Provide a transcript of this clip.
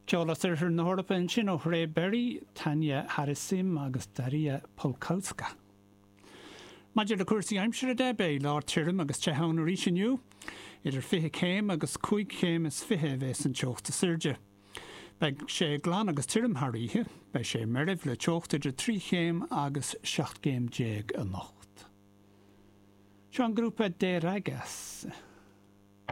Ceol as oirthear na hEorpa ansin ó Thray Berry, Tanya Harasim agus Daria Polkowska. Maidir le cúrsaí aimsire de, beidh lá tirim agus te ann arís inniu. Idir 20 céim agus 25 chéim a bheas an teocht is airde. Beidh sé glan agus tirim thar oíche. Beidh sé meirbh le teocht idir 3 chéim agus 17 gcéim anocht. Seo an grúpa De Ragas.